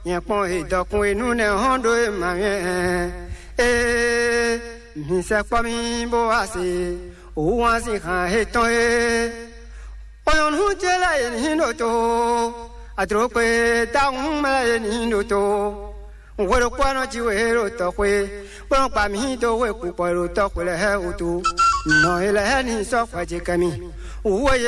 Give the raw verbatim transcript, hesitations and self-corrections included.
Nyɛ kpɔn he dɔkun e nú nɛ hɔn ɖó e ma nyɛ. Ee, mi sɛ kpɔ mi bó wá se. Òwú wá sin hàn he tɔn e. Kpɔnyɔnu ce lɛ e ní ɖo to. Adrokpe dahun mɛ lɛ e ní ɖo to. Hwe ɖokpó ɔ́ nɔ ji we ɖo tɔxwé, bó nɔ gba mǐ dó hwe kpukpɔ e ɖo tɔxwé lɛ́ɛ wútu. Nɔ e lɛ́ɛ ní sɔ́ hwɛ ce kɛ mi. Wǔ e